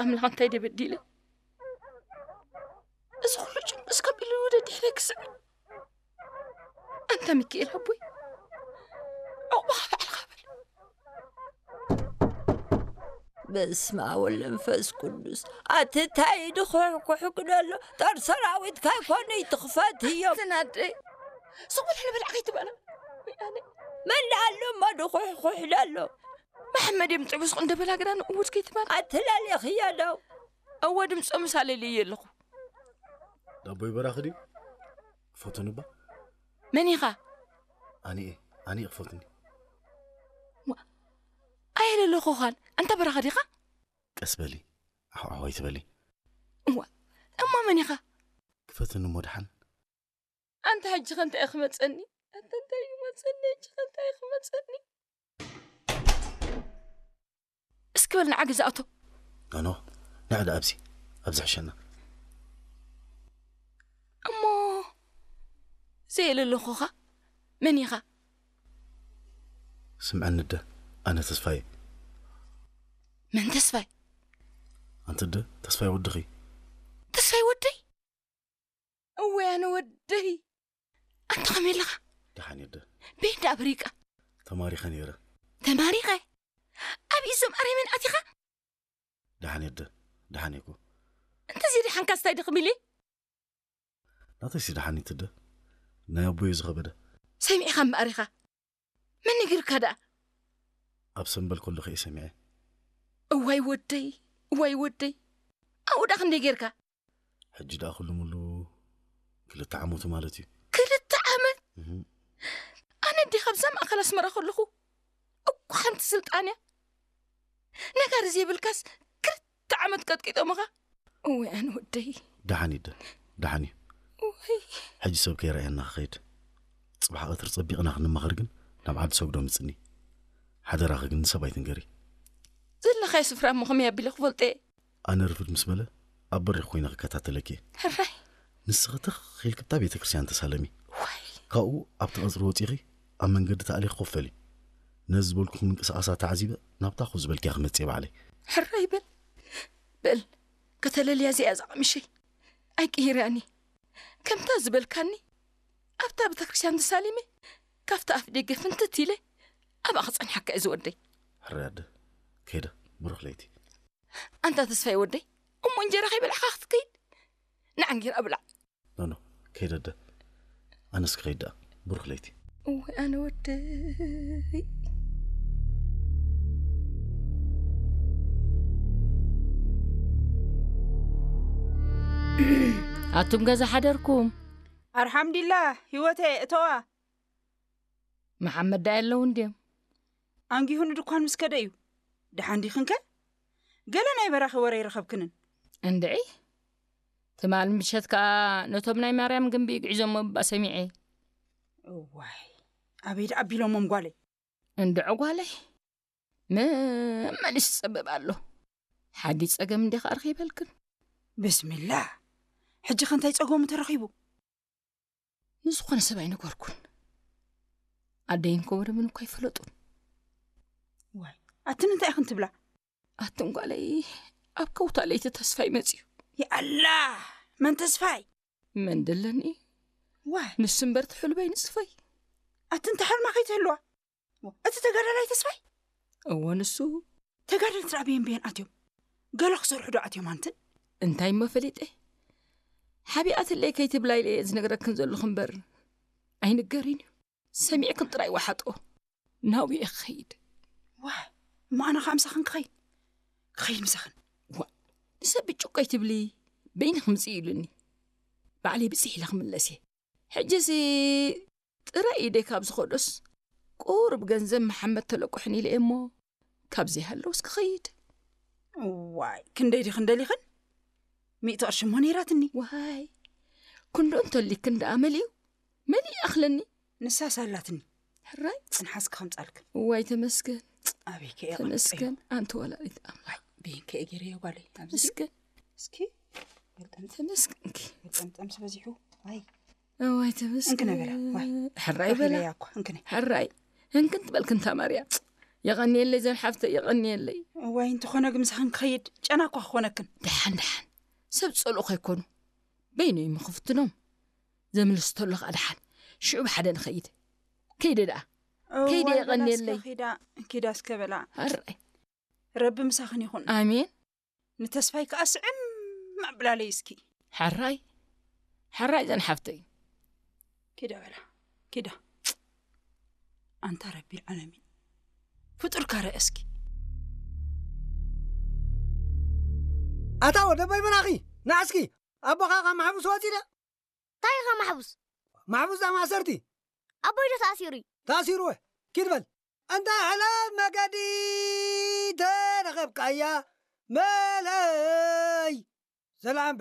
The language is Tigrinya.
ኣምላኽ እንታይ ደበዲለ? እዚ ኩሉ ጭንቅስ ከቢሉ ወደ ድሕረ ክስዕ። ኣንታ ሚካኤል ኣቦይ፣ ዕቑባኻ ባዕልኻ በል። በስመ ኣብ ወወልድ ወመንፈስ ቅዱስ። ኣቲ እንታይ ድኹሕኩሕ ክደሎ? ጦር ሰራዊትካ ኣይኮነ ይትኽፈት እዮም። ዝናደይ፣ ስቕ በል ሕልበል ዓኸይ ትበላ። መን ኣሎ እሞ ድኹሕኩሕ ደሎ? መሓመድ እዮም ጥዑስ እንደ በላግራ ንእውጅ ከይትበል። ኣትላለኽያ ዶ? እወ፣ ድምፆ ምሳሌ ኣለኹ። ዳቦይ በራኺ ድዩ? ክፈትኑ እባ። መን ኢኻ? ኣነ እየ፣ ኣነ እየ ክፈትኒ። ዋ፣ ኣየለለኹኻን። ኣንታ በራኺ ዲኻ? ቀስ በሊ፣ ኣሕዋሕዋይ ትበሊ። እዋ፣ እሞ መን ኢኻ? ክፈትኒ እሞ ደሓን። ኣንታ ሕጂ ከ እንታይ እዩ ክመጸኒ? ኣንታ እንታይ እዩ መጸኒ? ሕጂ ከ እንታይ እዩ ክመጸኒ? እስኪ በል ንዓ ገዛ ኣቶ። ኖኖ፣ ንዕዳ ኣብዚ፣ ኣብዚ ሕሸና። እሞ ዘየለለኹኻ መን ኢኻ? ስምዐኒ እደ፣ ኣነ ተስፋየ። መን ተስፋይ? ኣንቲ እደ፣ ተስፋይ ወድኺ። ተስፋይ ወደይ? እወ፣ ኣነ ወደይ። ኣንተ ከመይ ኣለኻ? ደሓን እየ እደ። በይ እንዳ ኣበሪቃ። ተማሪኸ ነይረ። ተማሪኸ? ኣብ እዞም ኣረሜን ኣቲኻ? ደሓን እየ እደ። ደሓን እየ እኮ። እንተዚ ደሓንካ ስታይ ድኽም ኢለ? ናተይሲ ደሓን እየ እደ። ናይ ኣቦይ እዩ ዝኸበደ። ሰሚዕኻ እምበኣር ኢኻ። መን ነጊርካ ደኣ? ኣብ ሰምበል ከለኹ እየ ሰሚዐ። እዋይ ወደይ፣ እዋይ ወደይ። ኣብኡ ደኣ ክንደይ ጌርካ? ሕጂ ደኣ ኩሉ ሙሉ ክልተ ዓመቱ ማለት እዩ። ክልተ ዓመት? እህ። ኣነ እንዲየ ካብዛ ማእከል ኣስመራ ከለኹ እኮ ሓንቲ ስልጣን እያ። ነጋሪ ዘይብልካስ ክልተ ዓመት ቀጥቂጦምኻ? እወ ኣነ ወደይ። ደሓን እዩ እደ፣ ደሓን እዩ። እወይ። ሕጂ ሰብ ከይረኣየና ክኸይድ። ጽባሕ ቀትሪ ጸቢቕና ክንመኸር ግን ናብ ዓዲ ሰጉዶ ምጽኒ። ሓደራኺ ግን ንሰብ ኣይትንገሪ። ዘለኻዮ ስፍራ እሞ ከመይ ኣቢለ ክፈልጦ እየ? ኣነ ርፍድ ምስ በለ ኣብ በሪኽ ኮይነ ክከታተለኪ እየ። ሕራይ። ንስኺ ትኽ ኢልኪ ብታ ቤተ ክርስቲያን ተሳለሚ። ዋይ። ካብኡ ኣብቲ ቀጽሪ ወጺኺ ኣብ መንገዲ ተኣሊኺ ኮፍ በሊ። ነዚ ዝበልኩኺ ምንቅስቓሳ ተዓዚበ ናብታ ኮፍ ዝበልክያ ክመጽእ እየ ባዕለይ። ሕራይ በል። በል። ከተለልያ እዚኣ እዛ ቀሚሸይ ኣይቅይርያን እየ። ከምታ ዝበልካኒ ኣብታ ቤተ ክርስቲያን ተሳሊመ ካብቲ ኣፍ ደገ ፍንትት ኢለ ኣብኣ ክጸንሓካ እየ ዝወደይ። ሕራይ ኣደ። ከይደ። ብሩኽ ለይቲ። ኣንታ ተስፋይ ወደይ፣ እሞ እንጀራ ከይበላዕካ ክትከይድ? ንዓ እንጌራ ብላዕ። ኖኖ፣ ከይደ ኣደ። ኣነስ ክኸይድ ደኣ። ብሩኽ ለይቲ። እወ ኣነ ወደይ። ኣቱም ገዛ ሓደርኩም? ኣልሓምዱሊላህ፣ ህይወተይ፣ እተዋ። መሓመድ ዳኣ የለውን ድዮም? ኣንጊሁ ንድኳን ምስ ከደ እዩ። ደሓን ዲኽንከ? ገለ ናይ በራኺ ወረ ኣይረኸብክንን። እንድዒ፣ ትማል ምሸት ከኣ ነቶም ናይ ማርያም ግንቢ ይግዕዞሞ እባ ሰሚዐ። እዋይ፣ ኣበይ ደኣ ኣቢሎሞም ጓለይ? እንድዒ ጓለይ፣ መመሊስ ይጸበብ ኣሎ። ሓዲ ጸገም እንዲኻ ረኺበልክን? ብስሚላህ፣ ሕጂ ከ እንታይ ጸገሙ ተረኺቡ? ንዝኾነ ሰብ ኣይነገርኩን። ኣደይን ኮወደምን እኳ ኣይፈለጡን። ዋይ፣ ኣትን እንታይ ኢኽን ትብላ? ኣትን ጓለይ፣ ኣብ ከውታ ለይቲ ተስፋይ መጽዩ። ያኣላ፣ መን ተስፋይ? መን ደለኒ? ዋይ። ንሱ እምበር ትሕልበይ ንጽፈይ። ኣትን ተሓልማ ከይትህልዋ። እቲ ተጋዳላይ ተስፋይ? እወ፣ ንሱ። ተጋደልቲ ደኣ በየን በየን ኣትዮም? ገለ ክሰርሑ ዶ ኣትዮም ኣንትን? እንታይ እሞ ፈሊጠ? ሓቢኣትለይ ከይትብላ ኢለ እየ ዝነግረክን ዘለኹ እምበር፣ ኣይንገርን እዩ። ሰሚዕክን ጥራይ ወሓጦ። ናብኡ እየ ክኸይድ። ዋይ፣ እሞ ኣነ ኸኣ ምሳኽን ክኸይድ? ክኸይድ ምሳኽን? ዋ፣ ንሰብ ብጭቆ ኣይትብሊ፣ በይንኺ ምጺ ኢሉኒ። ባዕለይ ብጽሕ ኢለ ክምለስ እየ። ሕጂሲ ጥራይ ኢደይ ካብ ዝኸዶስ፣ ቁሩብ ገንዘብ መሓመድ ተለቁሕኒ ኢለ እየ እሞ፣ ካብ ዘይሃለውስ ክኸይድ። እዋይ፣ ክንደይ ዲኽን ደሊኽን? ሚእቲ ቅርሺ እሞ ነይራትኒ። ዋይ፣ ክንዱ እንተሊክን ደኣ መሊኡ፣ መሊኡ ይኣኽለኒ። ንሳስ ኣላትኒ። ሕራይ። ጽንሓስ ክኸምጻልክን። እዋይ፣ ተመስገን። ኣበይከ እየ ተመስገን፣ ኣንተ ወላዲት ኣምላኽ። በይንከ እየ ገይረዮ ጓለይ? ኣብዚ ድዩ? ተመስገን። እስኪ፣ ገልጠምጠም። ተመስገንኪ። ገልጠምጠምስ በዚሑ። ኣይ። እዋይ፣ ተመስገን። እንክነ በላ፣ ዋይ። ሕራይ በላ። ረኺበያ እኮ፣ እንክነ። ሕራይ። እንክን ትበልክን ታማርያ። የቐንየለይ ዘን ሓፍተይ፣ የቐንየለይ። እዋይ፣ እንተኾነ ግን ምሳኽን ክኸይድ ጨና እኳ ክኾነክን። ደሓን፣ ደሓን። ሰብ ጸልኡ ከይኮኑ። በይነይ ምኽፍትኖም። ዘምልስ ተሎ ከኣ ደሓን። ሽዑ ብሓደ ንኸይድ። ከይደ ደኣ። እዋይ፣ ከይደ በላ የቐንየለይ። እስከ ኪዳ፣ ኪዳ እስከ በላ። ኣራይ። ረቢ ምሳኽን ይኹን። ኣሜን። ንተስፋይ ከኣ ስዕም ኣብላለይ እስኪ። ሓራይ፣ ሓራይ ዘን ሓፍተይ። ኪዳ በላ፣ ኪዳ። ኣንታ ረቢ ዓለሚን። ፍጡርካ ርአ እስኪ። ኣታ ወደ በይ በላኺ፣ ንዓ እስኪ፣ ኣቦኻ ካብ ማሕቡስ ወጺደ? እንታይ ኢኻ ማሕቡስ? ማሕቡስ ኣብ ማእሰርቲ። ኣቦይ ዶ ተኣሲሩ እዩ? ተኣሲሩ ወ? ኪድ በል። ኣንታ ሕላፍ መገዲ ተረኸብካያ መለይ። ሰላም